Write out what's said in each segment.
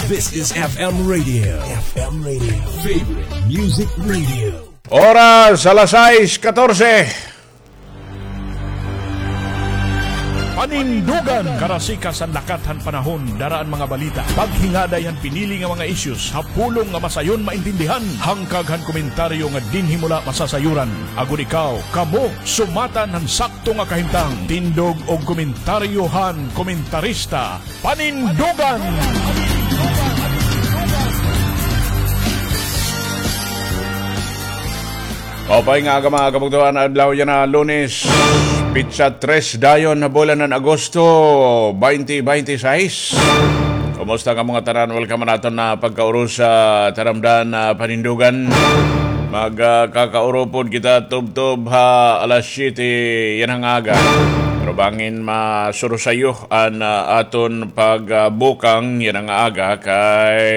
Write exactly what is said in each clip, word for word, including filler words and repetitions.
This is F M Radio. F M Radio. Favorite Music Radio. Oras, alas sais katorse. Panindugan, karasikas han lakat han panahon, dara an mga balita, paghingaday han pinili nga mga issues, ha pulong nga masayon maintindihan, hangkag han komentaryo nga dinhi mo la masasayoran. Agod ikaw, kamo, sumatan han sakto nga kahimtang. Tindog og komentaryo han komentarista. Panindugan! Maupay nga aga, mga kabugtoan, adlaw yana Lunes, pitsa tres dayon ha bulan han Agosto, twenty twenty-six. Kumusta kamo ngatanan? Welcome han aton nga pagkaurusa, taramdan, ah, Panindugan. Mag, ah, kakaurupod kita tubtob ha alas siyete yana nga aga. Pero bangin masurusayo an, ah, aton pagbukang yana nga aga kay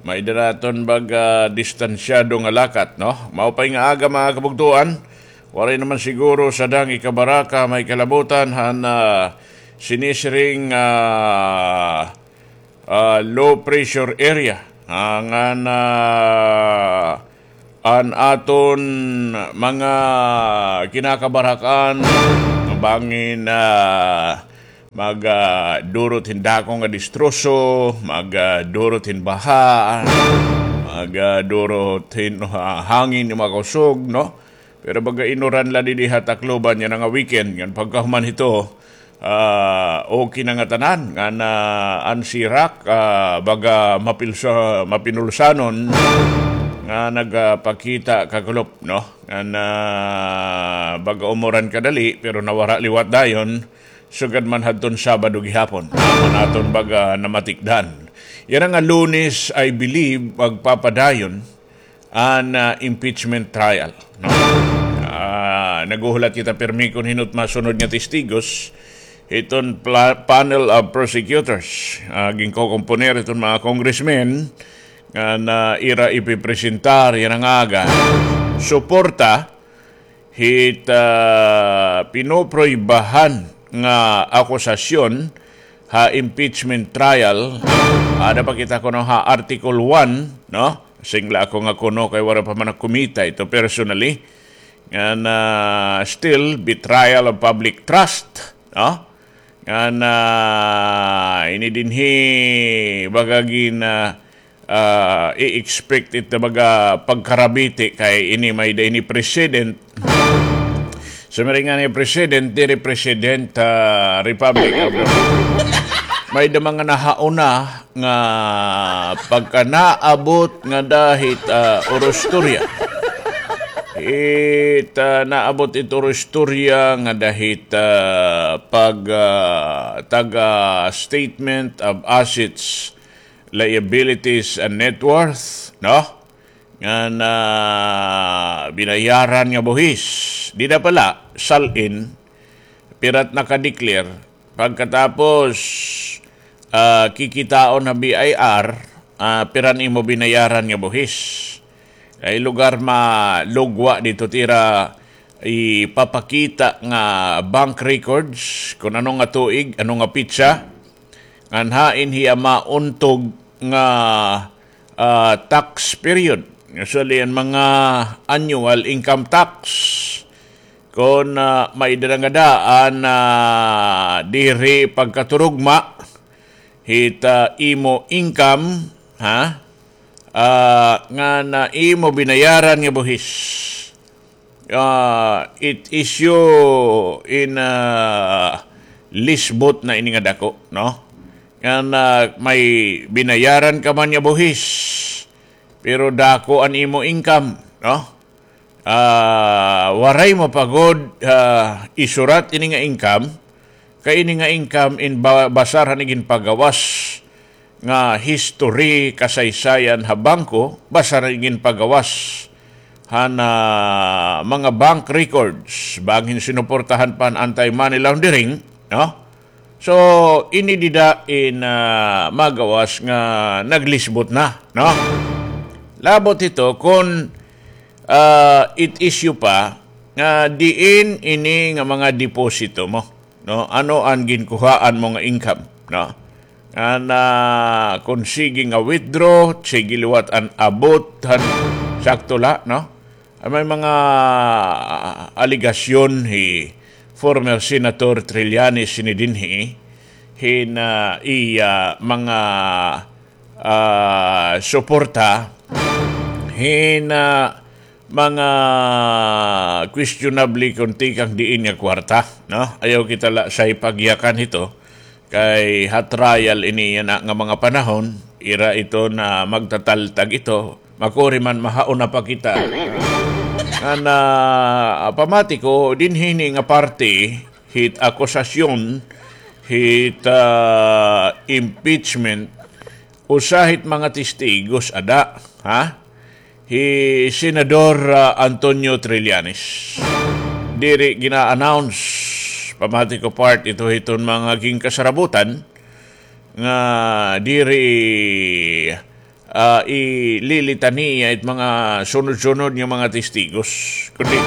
may-ada naton baga distansyado nga lakat, no? Maupay nga aga, mga kabugtoan. Waray naman siguro sadang ikabaraka may kalabutan han, ah, sinisiring, ah, ah, low pressure area. Ah, ngan, ah, an aton mga kinakabarakan, bangin, ah, mag, ah, durot hin dako nga distroso, mag, ah, durot hin baha, mag, ah, durot hin, ah, hangin nga makusog, no? Pero baga inuran la didi ha Tacloban yana nga weekend, ngan pagkahuman hito, ah, okay na ngatanan, ngan an sirak, ah, baga mapilsa-, mapinulsanon nga nagapakita kakulop, no? Ngan, ah, baga umuran kadali, pero nawara liwat dayon, sugad man hadton Sabado gihapon. Amo an aton baga namatikdan. Yana nga Lunes, I believe, magpapadayon an, ah, impeachment trial, no? Ah, naghuhulat kita pirmi kon hin-o it masunod nga testigos hiton pla-, panel of prosecutors. Ah, ginkokomponer hiton mga congressmen nga, ah, ira ipipresentar yana nga aga suporta hit, ah, pinupruwebahan nga akusasyon ha impeachment trial. Ada pa kita kuno ha Article one, no? Singla ako nga kuno kay waray pa man ako kumita ito personally. Ngan, ah, still, betrayal of public trust, no? Ngan, ah, ini dinhi baga gin, ah, ah, i-expect it na baga pagkarabiti kay ini may-ada ini president. Sumiring ngani president, diri president, ah, Republic of the, may-ada mga nahauna nga pagka naabot ngada hit, ah, orostorya. It, ah, naabot it orostorya ngada hit, ah, pag, ah, taga statement of assets, liabilities and net worth, no? Ngan, ah, binayaran nga buhis. Dida pa la, sal-in, pira it naka-declare. Pagkatapos, ah, kikitaon ha B I R, ah, pira an imo binayaran nga buhis. Kay lugar malugwa didto it ira ipapakita nga bank records, kon ano nga tuig, ano nga petsa, ngan hain hiya mauntog nga, ah, tax period. Usually, an mga annual income tax, kon, ah, may-ada ngada an, ah, diri pagkaturugma hit, ah, imo income, ha? Ah, ngan imo binayaran nga buhis. Ah, it issue in, ah, lisbot na ini nga dako, no? Ngan, ah, may binayaran ka man nga buhis, pero dako an imo income, no? Ah, waray mo pa gud, ah, isurat ini nga income, kay ini nga income in ba-, basar han iginpagawas nga history, kasaysayan ha bangko, basar han iginpagawas han, ah, mga bank records, bangin sinuportahan pa han anti-money laundering, no? So, ini dida in, ah, magawas nga naglisbot na, no? Labot hito kon, ah, it issue pa nga diin ini nga mga deposito mo, no? Ano an ginkuhaan mo nga income, no? Ngan, ah, kon sige nga withdraw, sige liwat an abot han sakto la, no? An may mga, ah, alegasyon hi former Senator Trillanes hini dinhi hin, ah, iya mga, ah, suporta hin, ah, mga questionable kon tikang diin nga kwarta, no? Ayaw kita la say pagyakan hito, kay ha trial ini yana nga mga panahon, ira ito na magtataltag ito, makuri man mahauna pa kita. Ngan, ah, pamati ko, dinhi ini nga parte, hit akusasyon, hit, ah, impeachment, usa hit mga testigos ada, ha? Hi Senador, ah, Antonio Trillanes. Diri gina-announce, pamati ko part ito hiton mga ginkasarabutan, nga diri, ah, ililitaniya it mga sunod-sunod nga mga testigos. Kundi,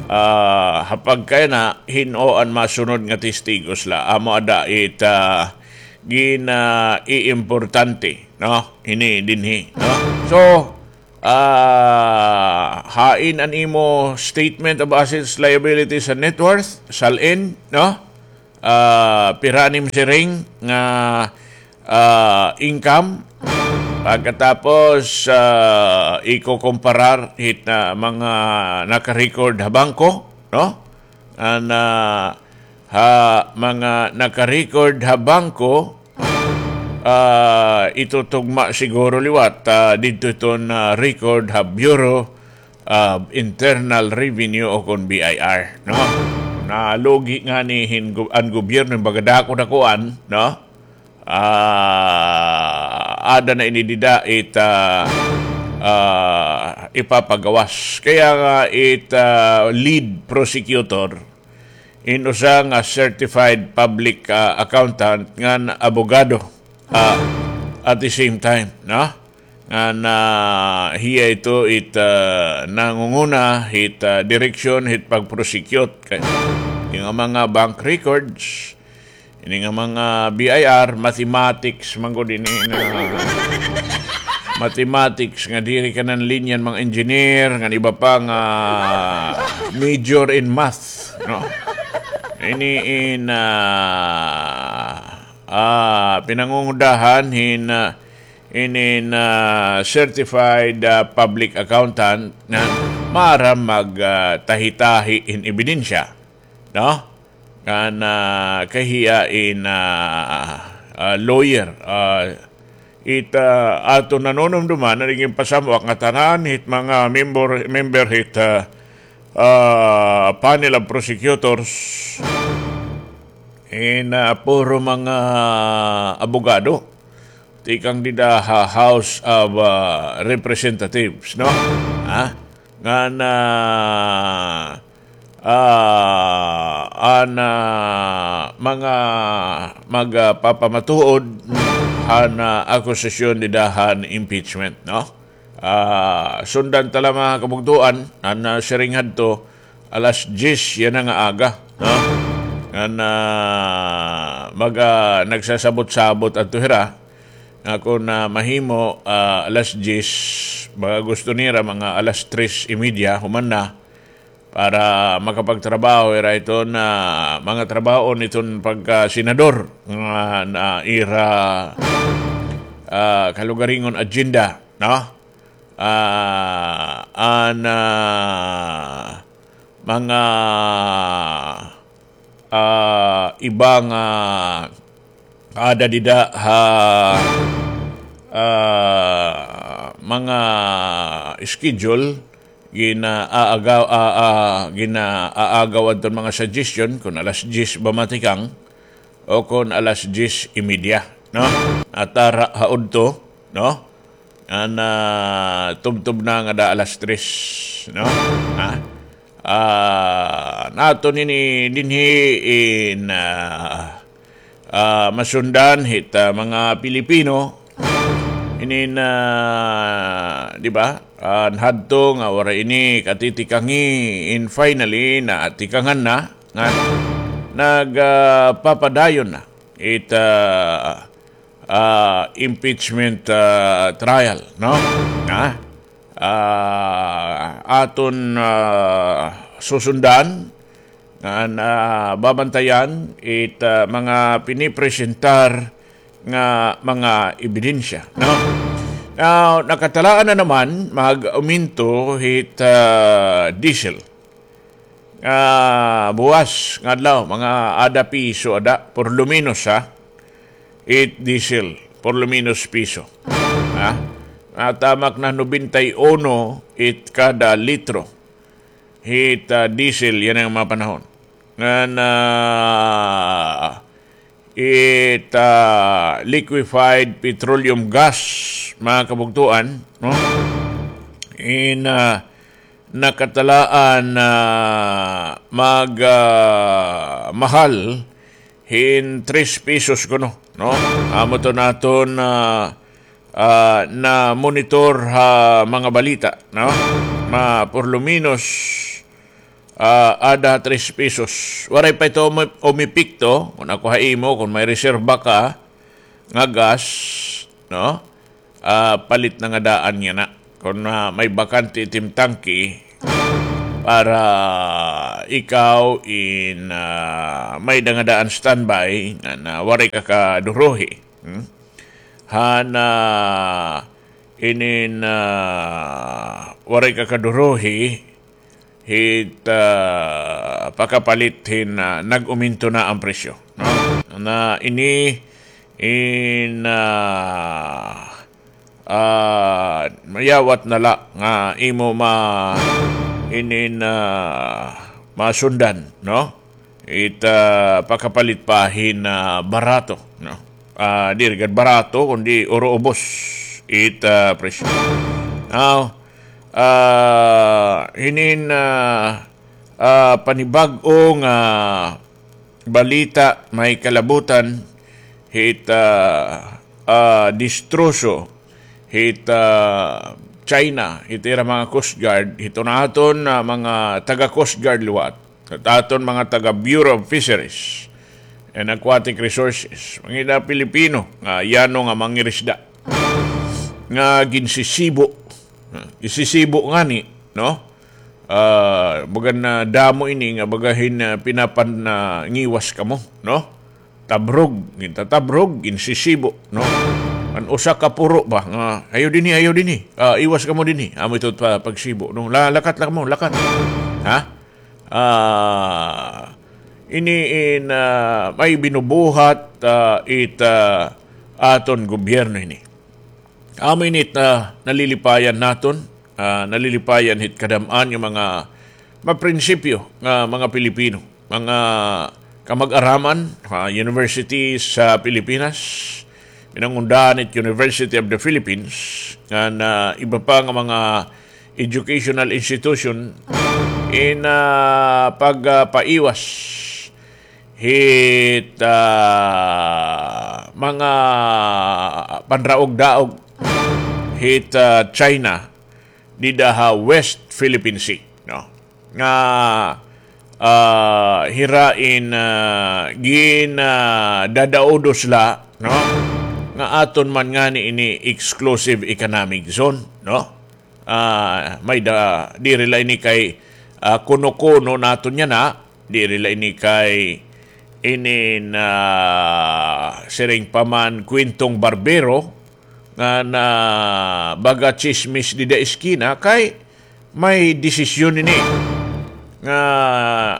ah, ha pagkayana, hin-o an masunod nga testigos la, amo ada it, ah, gina-iimportante, no? Hini dinhi, no? So, ah, hain an imo statement of assets, liabilities, and net worth, SALN, no? Ah, pira an im siring nga, ah, income. Pagkatapos, ah, ikukumparar hit na mga naka-record ha bangko, no? An, ah, ha mga naka-record ha bangko, ah, itutugma siguro liwat, ah, didto iton, ah, record ha Bureau of Internal Revenue o kon B I R, no? Nalugi ngani hin gu-, an gobyerno, baga dako-dakuan, no? Ah, ada na ini dida it, ah, ah, ipapagawas. Kaya nga it, ah, lead prosecutor, in usa nga certified public, ah, accountant ngan abogado, ah, at the same time, no? Ngan, ah, hiya ito it, ah, nangunguna hit, ah, direksyon hit pag-prosecute kay ini nga mga bank records, ini nga mga B I R, mathematics man gud ini nga mathematics nga diri ka nan linya han mga engineer ngan iba pa nga major in math, no? Ini in, ah, ah, pinangungudahan hin, ah, inin, ah, certified, ah, public accountant nga maaram mag, ah, tahi-tahi hin ebidensya, no? Ngan, ah, kay hiya in, ah, ah, lawyer, ah, it, ah, aton nanunumduman nga ginpasamwak nga tanan hit mga member, member hit, ah, ah, panel of prosecutors in, ah, puro mga abogado. Tikang dida ha House of, ah, Representatives, no? Ha? Ngan, ah, ah, an, ah, mga magpapamatuod han, ah, akusasyon dida han impeachment, no? Ah, sundan ta la, mga kabugtoan, an, ah, siring hadto, alas diyes yana nga aga, no? Ngan, ah, baga nagsasabot-sabot adto hira nga kon, ah, mahimo, ah, alas diyes, baga gusto nira mga alas tres y media human na para makapagtrabaho hira hiton mga trabaho hiton pagkasenador nga na ira, ah, kalugaringon agenda, no? Ah, an, ah, mga, ah, iba nga ada dida ha, ah, mga schedule, gina-aagaw, ah, ah, gina-aagaw adton mga suggestion kon alas diyes ba matikang o kon alas diyes y media, no? Atara ha udto, no? An, ah, tubtob na ngada alas tres, no? Ha? Ah, naton ini dinhi in, ah, ah, masundan hit, ah, mga Pilipino. Inin, ah, di ba? An hadto nga waray ini katitikangi, in finally, natikangan na, nga nag, ah, papadayon na it, ah, ah, impeachment, ah, trial, no? Ha? Ah, aton, ah, susundan ngan, ah, babantayan it, ah, mga pinipresentar nga mga ebidensya, no? Now, nakatalaan na naman mag-uminto hit, ah, diesel. Ah, buwas nga adlaw, mga ada piso ada, por lo menos, ha? It diesel, por lo menos piso. Ha? Natamak na nobenta y uno it kada litro. Hit, ah, diesel, yana nga mga panahon. Ngan, ah, it, ah, liquefied petroleum gas, mga kabugtoan, no? In, ah, nakatalaan na mag, ah, mahal hin tres pesos kuno, no? Amo to naton, ah, ah, na-monitor ha mga balita, no? Ma, por lo menos, ah, ada tres pesos. Waray pa ito umi-, umepekto, kon ako ha imo, kon may reserba ka nga gas, no? Ah, palit na nga daan yana. Kon, ah, may bakante it im tangke, para ikaw in, ah, may-ada nga daan standby, nga, nga waray ka kaduruhi. Hmm? Han, ah, inin, ah, waray ka kaduruhi, hit, ah, pakapalit hin, ah, nag-uminto na an presyo, no? Na ini in, ah, ah, mayawat na la nga imo ma-, inin, ah, masundan, no? It, ah, pakapalit pa hin, ah, barato, no? Ah, diri gad barato, kundi uro ubos it, ah, presyo. Now, ah, hinin, ah, ah, panibag-o nga balita, may kalabutan hit, ah, ah, distroso hit, ah, China, hit ira mga Coast Guard, hit naton, ah, mga taga Coast Guard liwat, hit aton mga taga Bureau of Fisheries and Aquatic Resources, mga ida Pilipino nga yano nga mangirisda nga ginsisibo. Ah, gisisibo ngani, no? Ah, baga nadamo ini nga baga hin, ah, pinapan-, ah, ngiwas kamo, no? Tabrog, gintatabrog, ginsisibo, no? An usa ka puro ba nga, "Ayaw dinhi, ayaw dinhi. Ah, iwas kamo dinhi." Amo ito pa pagsibo, no? La-, lakat la kamo, lakat. Ha? Ah, ini in, ah, may binubuhat, ah, it, ah, aton gobyerno ini. Amo ini it, ah, nalilipayan naton, ah, nalilipayan hit kadam-an nga mga maprinsipyo nga mga Pilipino, mga kamag-araman ha university sa Pilipinas, pinangundahan hit University of the Philippines, ngan iba pa nga mga educational institution in, ah, pag, ah, paiwas hit, ah, mga panraog-daog hit, ah, China dida ha West Philippine Sea, no? Nga, ah, hira in, ah, gin, ah, dadaudos la, no? Nga aton man ngani ini exclusive economic zone, no? Ah, may da, diri la ini kay, ah, kuno-kuno naton yana, diri la ini kay inin, ah, siring pa man kwentong barbero nga na baga tsismis dida eskina, kay may desisyon ini. Nga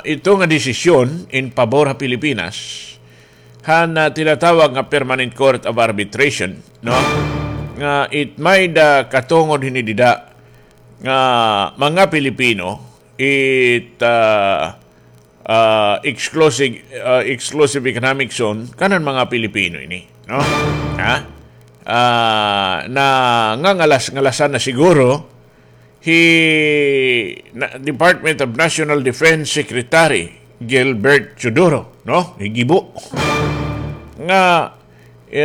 ito nga desisyon in pabor ha Pilipinas, han, ah, tinatawag nga Permanent Court of Arbitration, no? Nga it may da katungod hini dida nga mga Pilipino, it, ah, ah, exclusive, ah, exclusive economic zone, kanan mga Pilipino ini, no? Ha? Ah, na, nga ngalas-ngalasan na siguro, hi na, Department of National Defense Secretary Gilbert Teodoro, no? Higibo. Nga,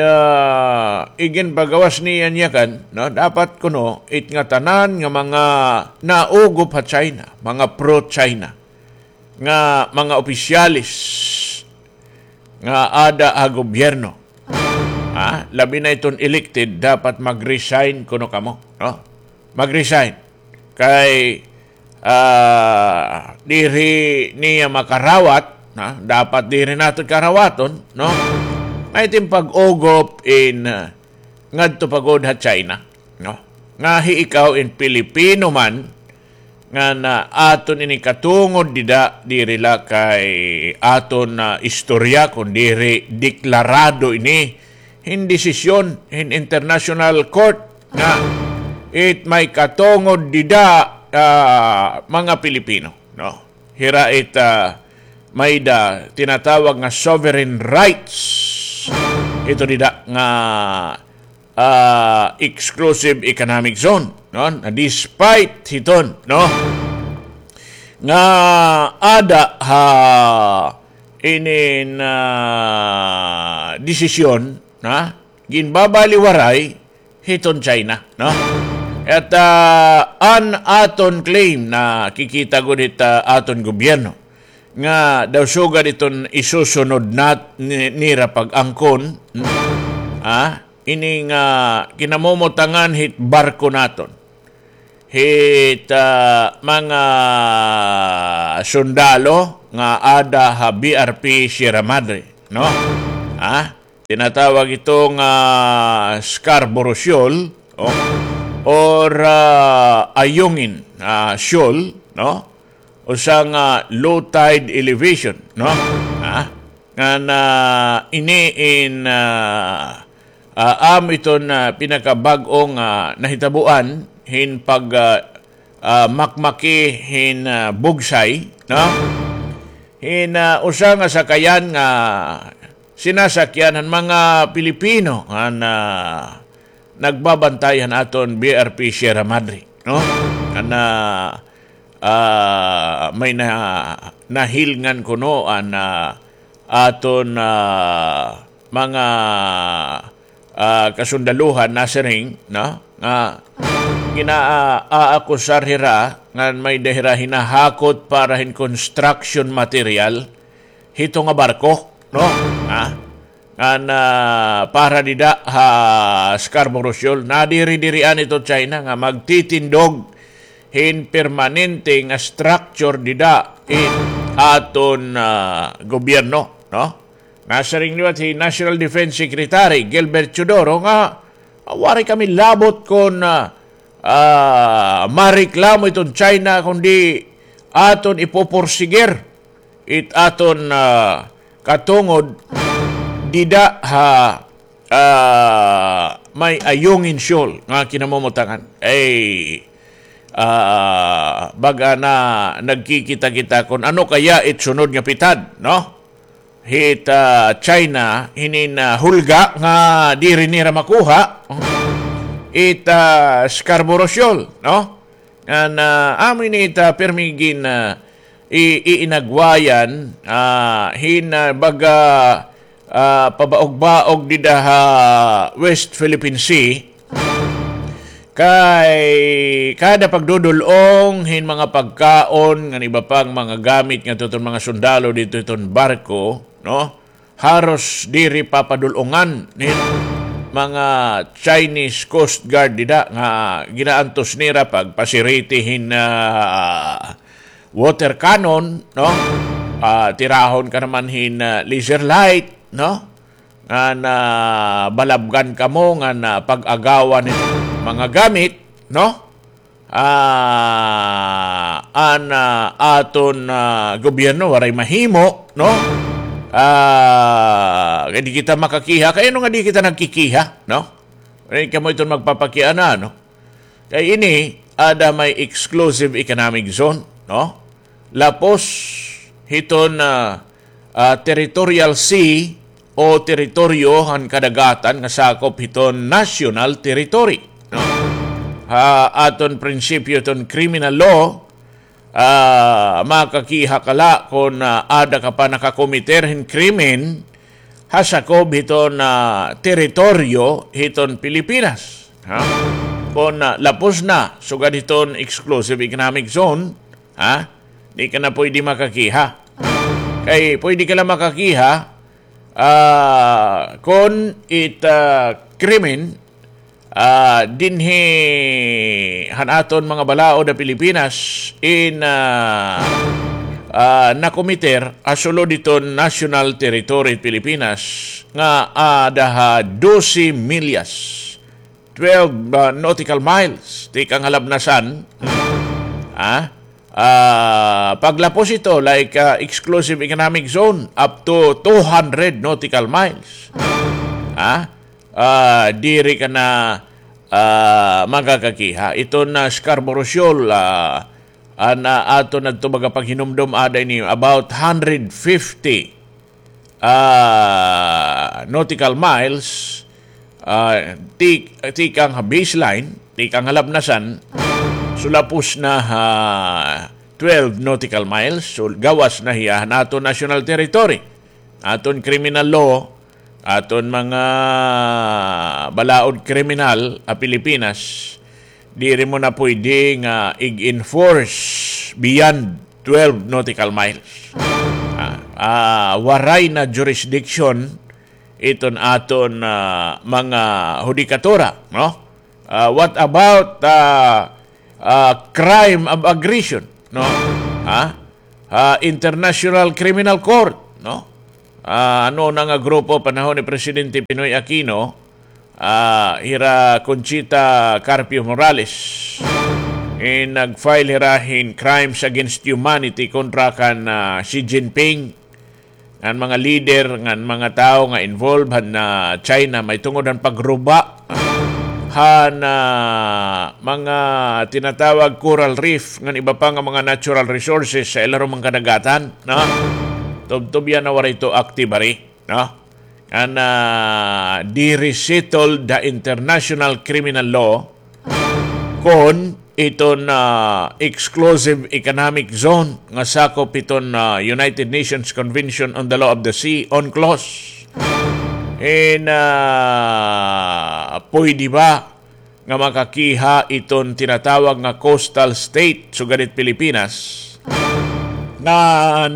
ah, iginpagawas niya niya kan, no? Dapat kuno, it ngatanan nga mga naugop ha China, mga pro-China, nga mga opisyales nga ada ha gobyerno. ha? Labi na iton elected, dapat mag-resign kuno kamo, no? Mag-resign. Kay, ah, diri niya makarawat, ha? Dapat diri naton karawaton, no? May tim pag-ugop in, ah, ngadto pa gud ha China, no? Nga hi ikaw in Pilipino man, nga na aton ini katungod dida, diri la kay aton, ah, istorya, kun diri deklarado ini hin desisyon hin International Court nga it may katungod dida, ah, mga Pilipino, no? Hira it, ah, may da tinatawag nga sovereign rights. Ito dida nga, ah, exclusive economic zone, no? Na despite hiton, no? Nga ada ha inin, ah, desisyon, ha? Ginbabaliwaray hiton China, no? At, ah, an aton claim nakikita gud hit, ah, aton gobyerno nga daw sugad iton isusunod nat-, ni-, nira pag-angkon, hmm? Ah, ini nga kinamomotangan hit barko naton. Hit, ah, mga sundalo nga ada ha B R P Sierra Madre, no? Ah, tinatawag ito nga Scarborough Shoal, oh, or, ah, Ayungin, ah, Shoal, no? Usa nga low tide elevation, no? Ha? Nga na ini in, ah, ah, amo iton, ah, pinakabag-o nga nahitabuan hin pag, ah, ah, makmaki hin, ah, bugsay, no? Hin, ah, usa nga sakayan nga sinasakyan han mga Pilipino nga na-, nagbabantay han aton B R P Sierra Madre, no? Nga na, ah, may na-, nahilngan kuno an, ah, aton, ah, mga, ah, kasundaluhan nasiring, no? Nga gina-, aakusar hira ngan may-ada hira hinahakot para hin construction material hito nga barko, no? Ha? Ngan, ah, para dida ha Scarborough Shoal, nadiri-dirian ito China nga magtitindog hin permanente nga structure dida in aton, ah, gobyerno, no? Nasiring liwat hi National Defense Secretary Gilbert Teodoro nga, ah, waray kami labot kon, ah, ah, mareklamo iton China, kundi aton ipupursigir it aton, ah, katungod dida ha, ah, may Ayungin Shoal nga kinamomotangan. Ay, ah, baga na nagkikita-kita kon ano kaya it sunod nga pitad, no? Hit, ah, China, hinin, ah, hulga nga diri nira makuha, it, ah, Scarborough Shoal, no? Ngan, ah, amo ini it, ah, pirmi gin, ah, i-, iinagwayan, ah, hin, ah, baga, ah, pabaog-baog dida ha West Philippine Sea. Kay kada pagdudul-ong hin mga pagkaon ngan iba pang mga gamit ngadto hiton mga sundalo didto hiton barko, no? Haros diri papadul-ongan hin mga Chinese Coast Guard dida nga ginaantos nira pagpasiriti hin, ah, water cannon, no? Ah, tirahon ka naman hin, ah, laser light, no? Ngan balabgan kamo ngan pag-agawan hin mga gamit, no? Ah, an, ah, aton, ah, gobyerno waray mahimo, no? Ah, kay di kita makakiha, kay ano nga di kita nagkikiha, no? Waray kamo iton magpapakiana, no? Kay ini, ada may exclusive economic zone, no? Lapos hiton, ah, ah, territorial sea o teritoryo han kadagatan nga sakop hiton national territory, no? Ha aton prinsipyo hiton criminal law, ah, makakiha ka la kon, ah, ada ka pa nakakomiter hin krimen ha sakob hiton, ah, teritoryo hiton Pilipinas. Ha? Kon, ah, lapos na sugad hiton exclusive economic zone, ha? Di ka na pwede makakiha. Kay pwede ka la makakiha Ah, kon it, ah, krimen, ah, dinhi han aton mga balaod ha Pilipinas in, ah, ah, nakomiter ha sulod hiton national territory Pilipinas nga, ah, ada ha dose milyas, twelve, ah, nautical miles, tikang ha Labnasan. Ah, ah, paglapos ito, like, ah, exclusive economic zone, up to two hundred nautical miles. Ah, ah, diri ka na, ah, makakakiha. Ito na Scarborough Shoal, ah, an, ah, aton adto baga paghinumdom ada ini about hundred fifty ah, nautical miles, ah, tik-, tikang ha baseline, tikang ha Labnasan, sulapos na ha twelve nautical miles, so gawas na hiya han aton national territory. Aton criminal law, aton mga balaod kriminal ha Pilipinas, diri mo na pwede nga ig-enforce beyond twelve nautical miles. Ah, ah, waray na jurisdiction iton aton, ah, mga hudikatura, no? Ah, what about, ah, ah, crime of aggression, no? Ha? Ah, International Criminal Court, no? Ah, ano na nga grupo panahon ni Presidente Pinoy Aquino, ah, hira Conchita Carpio Morales. In nag-file hira hin crimes against humanity kontra kan, ah, Xi Jinping, ngan mga leader, ngan mga tawo nga involved han, ah, China, mahitungod han pagruba han, ah, mga tinatawag coral reef ngan iba pa nga mga natural resources sa ilarom han kadagatan, no? Tubtob yana waray ito active hari, no? Ngan, ah, diri settled ha international criminal law kon iton, ah, exclusive economic zone nga sakop hiton, ah, United Nations Convention on the Law of the Sea, UNCLOS. In, ah, pwede ba nga makakiha iton tinatawag nga coastal state sugad hit Pilipinas? Ngan,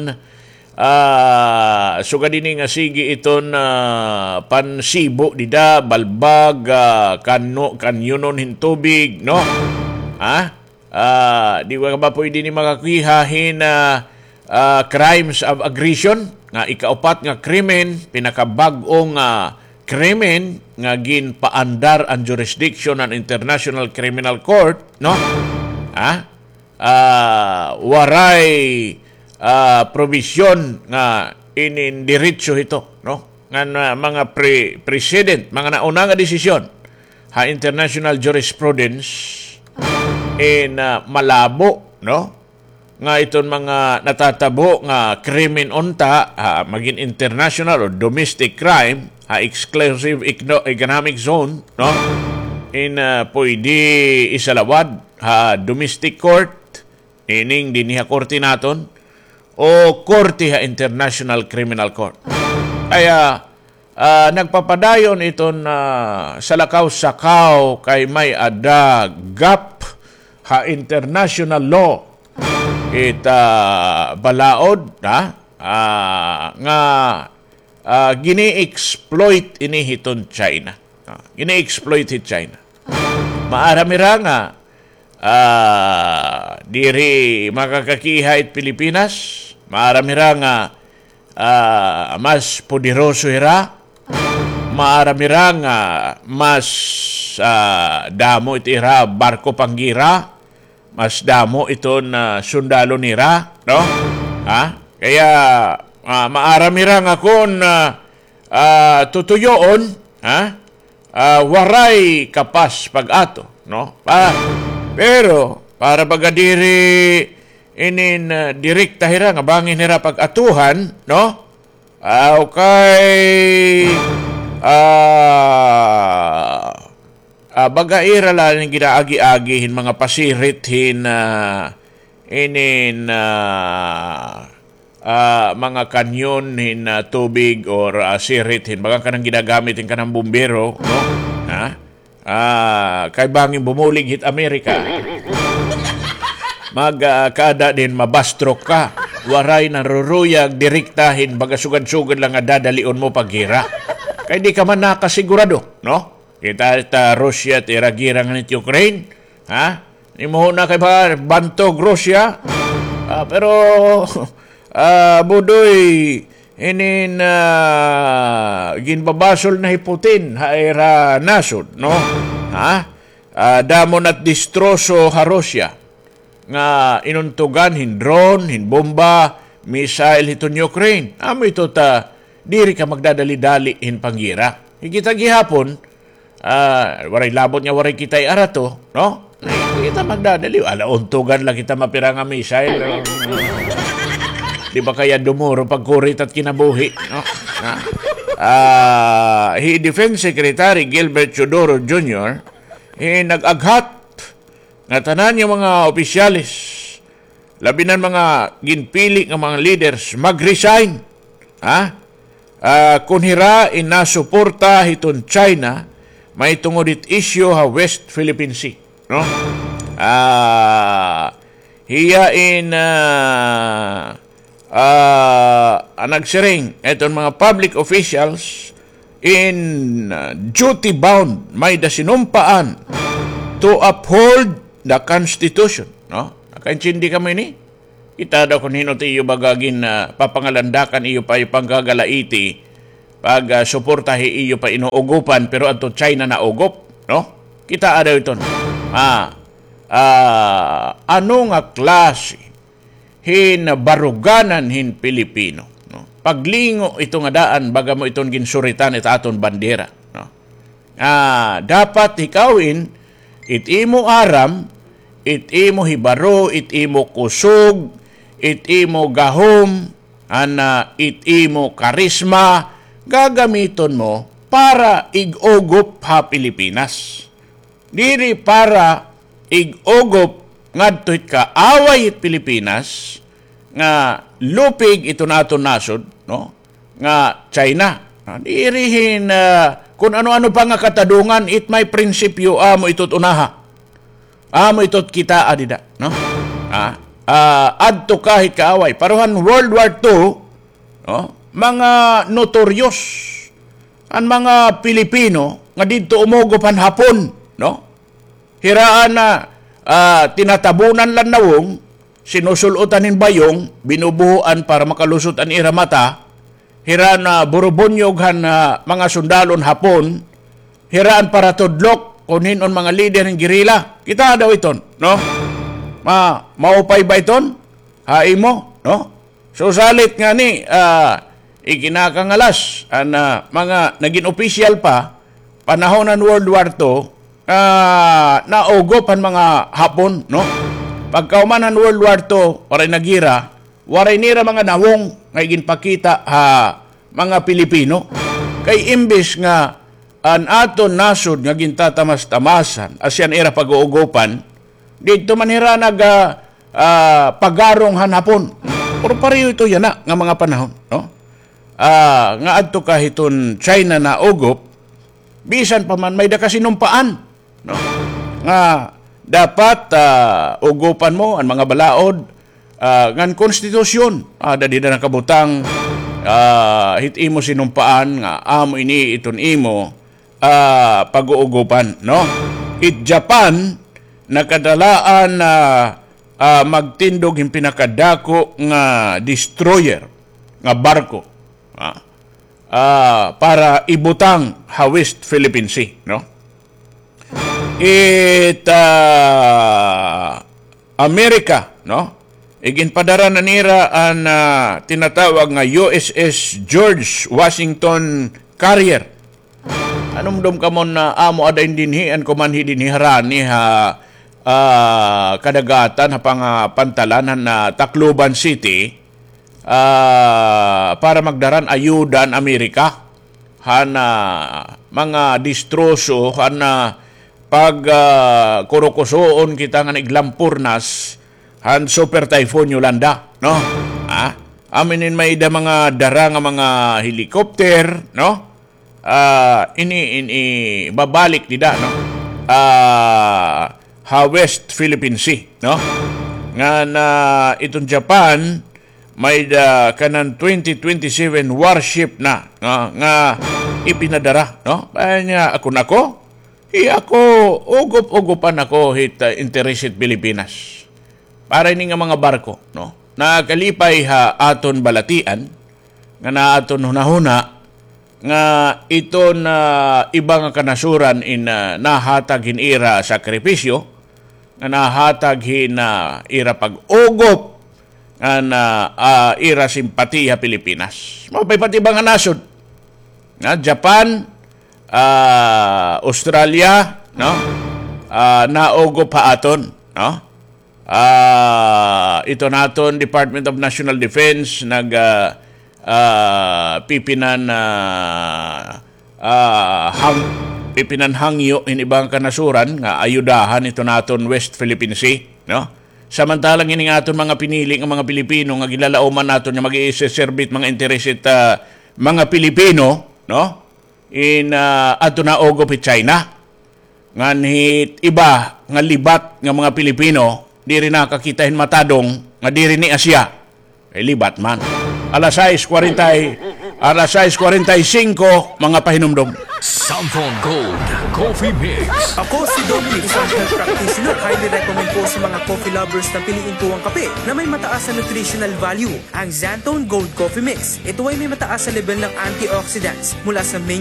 ah, sugad ini nga sige iton, ah, pansibo dida, balbag, ah, kano-, kanyonon hin tubig, no? Ha? Ah, di ba pwede ni makakiha hin, ah, ah, crimes of aggression, nga ikaupat nga krimen, pinakabag-o nga krimen nga ginpaandar an jurisdiction han International Criminal Court, no? Ha? Ah, waray, ah, probisyon nga inin diretso hito, no? Ngan, ah, mga pre-, precedent, mga nauna nga desisyon ha international jurisprudence in, ah, malabo, no? Nga iton mga natatabo nga krimen unta, ha, magin international o domestic crime, ha exclusive econo-, economic zone, no? In, ah, pwede isalawad ha domestic court, meaning dinhi ha korte naton, o korte ha International Criminal Court. Kaya, ah, nagpapadayon iton, ah, salakaw-sakaw kay may-ada gap ha international law it, ah, balaod, ha? Ah, nga, ah, gini-exploit ini hiton China. Ah, gini-exploit hit China. Maaram hira nga, ah, diri makakakiha it Pilipinas. Maaram hira nga, ah, mas poderoso hira. Maaram hira nga mas, ah, damo it ira barko panggira. Mas damo iton, ah, sundalo nira, no? Ha? Kaya, ah, maaram hira nga kon, ah, ah, tutuyoon, ha? Ah, waray kapas pag-ato, no? Pa, pero para baga diri inin, ah, direkta hira nga bangin hira pag-atuhan, no? Ah, okay. Ah, ah, baga ira la inin ginaagi-agi hin mga pasirit hin, ah, inin, ah, ah, mga kanyon hin, ah, tubig or, ah, sirit hin baga kanan ginagamit hin kanan bumbero, no? Ha? Ah, kay bangin bumulig hit Amerika. Mag, ah, kaada din mabastrok ka. waray naruruyag direkta hin baga sugad-sugad la nga dadalion mo paggira. Kay di ka man nakasigurado, no? Kita ta Russia it ira gira nganhi hit Ukraine, ha? Imo na kay ba bantog Russia? Ah, pero, ah, Budoy, inin, ah, ginbabasol na hi Putin ha ira nasod, no? Ha? Ah, damo na it distroso ha Russia nga inuntugan hin drone, hin bomba, missile hiton Ukraine. Amo ito ta diri ka magdadali-dali hin panggira. Higit ha gihapon, ah, waray labot nga waray kita iarato, no? Ay, kita magdadali. Ala, untugan la kita mapira nga missile. Di ba kaya dumuro pagkurit at kinabuhi, no? Ha? Ah, hi Defense Secretary Gilbert Teodoro Junior, hi nag-aghat nga tanan nga mga opisyales, labi na an mga ginpili nga mga leaders, mag-resign, ha? Ah, kon hira in nasuporta hiton China, mahitungod hit issue ha West Philippine Sea, no? Ah, hiya in, ah, ah, an nagsiring, iton mga public officials in, ah, duty bound, may-ada sinumpaan to uphold the Constitution, no? Nakaintindi kamo ini? Kita daw kon hin-o it iyo baga gin, ah, papangalandakan, iyo pa, iyo panggagalaiti, pag, ah, suporta hi iyo pa inuugopan, pero adto China naugop, no? Kita daw iton. Ah, ah, ano nga klase hin baruganan hin Pilipino, no? Paglingo ito nga daan, baga mo iton ginsuritan it aton bandera, no? Ah, dapat hikawin, it imo aram, it imo hibaro, it imo kusog, it imo gahom, an, ah, it imo karisma, gagamiton mo para ig-ugop ha Pilipinas. Diri para ig-ugop ngadto hit kaaway hit Pilipinas nga lupig iton aton nasod, no? Nga China. Ah, diri hin, ah, kon ano-ano pa nga katadongan, it may prinsipyo, amo ito it unaha. Amo ito it kitaa dida, no? Ah, ah, adto ka hit kaaway. Pareho han World War Two, no? Mga notorious an mga Pilipino nga didto umugop han Hapon, no? Hira an, ah, tinatabunan la an nawong, sinusul-otan hin bayong, binubuhuan para makalusot an ira mata, hira an, ah, burubunyog han, ah, mga sundalon Hapon, hira an paratudlok kon hin-o an mga lider hin gerila. Kita daw iton, no? Ma-, maupay ba iton? Ha imo, no? So, salit ngani, ah, ikinakangalas an, ah, mga nagin opisyal pa, panahon han World War Two, ah, naugop han mga Hapon, no? Pagkahuman han World War Two, waray nagira, waray nira mga nawong nga iginpakita ha mga Pilipino. Kay imbis nga an aton nasod nga gintatamas-tamasan, asya an ira pag-uugopan, didto man hira nag, ah, ah, pagarong han Hapon. Pero pareho ito yana nga mga panahon, no? Ah, nga adto ka hiton China naugop, bisan pa man may-ada ka sinumpaan, no? Nga dapat, ah, ugopan mo an mga balaod, ah, ngan konstitusyon. Ah, dida nakabutang, ah, hit imo sinumpaan nga amo ini iton imo, ah, pag-uugopan, no? It Japan, nakadalaan na, ah, magtindog hin pinakadako nga destroyer, nga barko, ah, ah, para ibutang ha West Philippine Sea, no? It, ah, Amerika, no? Iginpadara na nira an, ah, tinatawag nga U S S George Washington Carrier. Anumdom kamo na amo ada in dinhi an kumanhi dinhi harani ha, ah, kadagatan ha pangapantalan han, ah, Tacloban City, ah, para magdara hin ayuda an Amerika han, ah, mga distroso han, ah, pag, ah, kurukusoon kita ngan iglampurnas han Super Typhoon Yolanda, no? Ah, amo ini may-ada mga dara nga mga helicopter, no? Ah, ini, ini babalik dida, no? Ah, ha West Philippine Sea, no? Ngan, ah, iton Japan, may da kanan twenty twenty-seven warship na nga, nga ipinadara, no? Kay nga, ako nako, hi ako, ugop-ugopan ako hit, ah, interes hit Pilipinas. Para ini nga mga barko, no? Nakalipay ha aton balatian, nga na aton hunahuna, nga iton, ah, iba nga kanasuran in, ah, nahatag hin ira sakripisyo, nga nahatag hin, ah, ira pag-ugop, nga na, ah, ira simpatiya Pilipinas. Maupay pa it iba nga nasod. Na Japan, ah, Australia, no? Ah, naugop ha aton, no? Ah, ito naton Department of National Defense nag, ah, ah, pipinan, ah, ah, hang-, pipinan hangyo hin iba nga kanasuran nga ayudahan ito naton West Philippine Sea, no? Samantalang ini nga aton mga pinili nga mga Pilipino nga ginlalauman naton nga mag-iiseserbi hit mga interes hit, ah, mga Pilipino, no? In, ah, adto na ugop hi China. Ngan hit iba nga libat nga mga Pilipino, diri nakakita hin matadong nga diri ni Asia. Kay libat man. Alas sais kwarenta, alas sais kwarenta y singko, mga pahinumdom. Samson Gold Coffee Mix. Ako si Doc, isang health practitioner. Highly recommend ko sa mga coffee lovers na piliin ko ang kape na may mataas na nutritional value, ang Xanthone Gold Coffee Mix. Ito ay may mataas na level ng antioxidants mula sa main